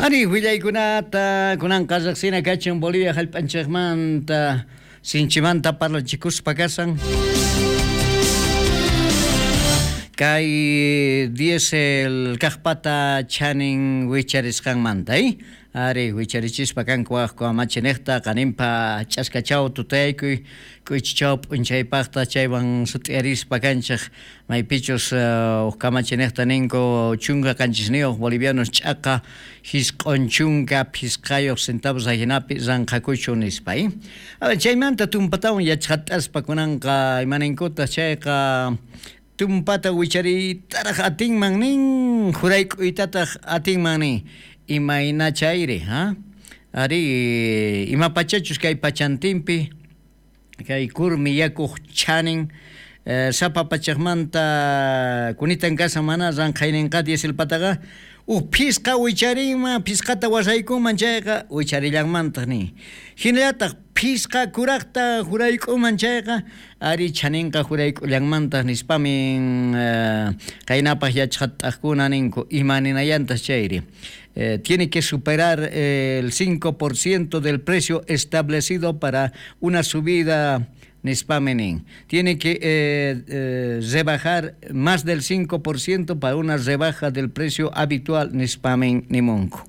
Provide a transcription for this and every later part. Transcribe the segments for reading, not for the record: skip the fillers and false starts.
Ari willaykunata kunanqa riqsina kachun Bolivia hallp'anchikmanta sinchimanta parlachikuspa kasan. Kay diésel kaqpata chanin wicharisqanmanta, Ari wicharichispa kanku waj kamachiniqta qaninpa ch'askachaw tutayaykuy k'uychichaw p'unchaypaqta chaywan sut'iyarispa kanchik maypichus uj kamachiniqta ninku 17 bolivianos ch'aqa 95 centavos ajinapi ranqhakuchu nispa. A ver, chaymanta tumpatawan yachqat'aspa kunanqa imaninkutaq chayqa tumpata wichariytaraq atinman nin jurayk'uytataq atinman nin imayna chayri ha ari ima pachachus kay pachantinpi kay kurmi yakuq chanin sapa pachaqmanta kunitan kasan mana ranqhayninqa dieselpataqa uj phisqa wicharinman phisqata wasaykunman chayqa wicharillanmantaq nin hinallataq phisqa kuraqta jurayk'uman chayqa ari chaninqa jurayk'ullanmantaq nispamin qaynapaq yachqat'aqkuna ninku ima ninayantaq chayri tiene que superar el 5% del precio establecido para una subida nispami nin tiene que rebajar más del 5% para una rebaja del precio habitual nispamin nimunku.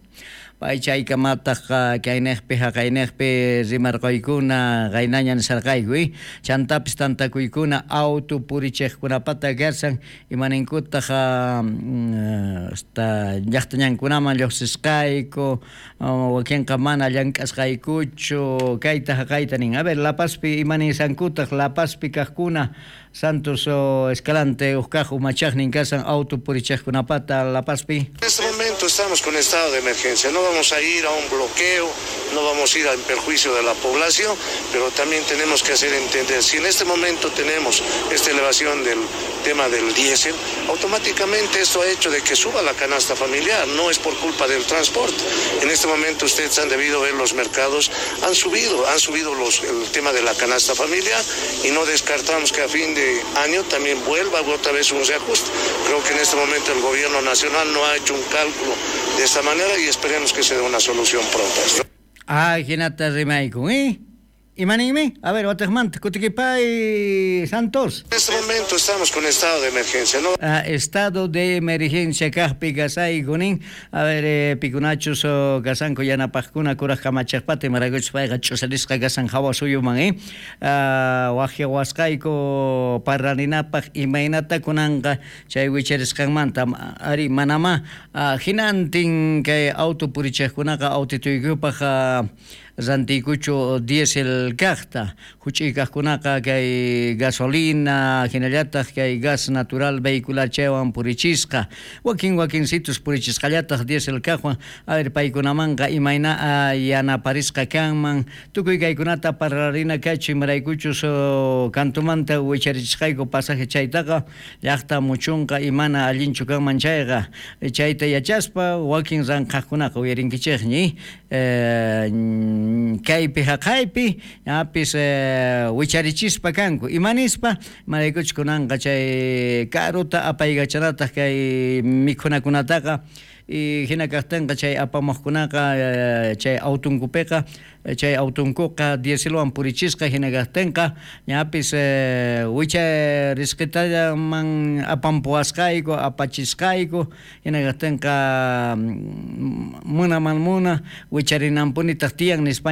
Pay chaykamataq kayniqpi haqayniqpi rimarquykuna qaynaña nisarqayku chantapis tantakuykuna auto purichiqkunapata kasan imaninkutaq hasta llaqtañankunaman lluqsisqayku wakinqa mana llank'asqaykuchu kayta haqayta nin. A ver, La Pazpi imanisankutaq La Pazpi kaqkuna Santos Escalante uj kaq umachaqnin kasan auto purichiqkunapata La Pazpi. En este momento estamos con estado de emergencia, no vamos a ir a un bloqueo, no vamos a ir en perjuicio de la población, pero también tenemos que hacer entender, si en este momento tenemos esta elevación del tema del diésel, automáticamente esto ha hecho de que suba la canasta familiar, no es por culpa del transporte. En este momento ustedes han debido ver los mercados, han subido el tema de la canasta familiar y no descartamos que a fin de año también vuelva otra vez un reajuste. Creo que en este momento el gobierno nacional no ha hecho un cálculo de esta manera y esperemos que se dé una solución pronta. Ah, hinata rimaykun, ¿eh? Imaninmi? A ver, watiqmanta kutikipay Santos. En este momento estamos con estado de emergencia, ¿no? Ah, estado de emergencia kaqpi kasayku nin. A ver, pikunachus kasanku yanapaqkuna kuraq kamachaqpata imaraykuchus payqa ch'usarisqa kasan hawa suyuman, ¿eh? Waqyawasqayku parlarinapaq imaynata kunanqa chay wicharisqanmanta ari manama hinantin kay auto purichiqkunaqa autituykupaq rantiykuchu diésel kaqta huch'uy kaqkunaqa kay gasolina hinallataq kay gas natural vehicular chaywan purichisqa wakin wakinsitus purichisqallataq diésel kaqwan a ver paykunamanqa imayna yanaparisqa kanman tukuy kaykunata parlarina kachu imaraykuchus kantumanta wicharichisqayku pasaje chaytaqa llaqta muchunqa imana allinchu kanman chayqa chayta yachaspa wakin ranqhaqkunaqa uyarinkichikñi kaypi haqaypi ñapis wicharichispa kanku imanispa imaraykuchus kunanqa chay karuta apaykachanataq kay mikhunakunataqa y hina kaqtinqa chay apamuqkunaqa chay autunkupiqa chay autunkuqa dieselwan purichisqa hina kaqtinqa ñapis wicharisqitallaman apampuwasqayku apachisqayku hina kaqtinqa munaman muna wicharinanpunitaq tiyan nispa.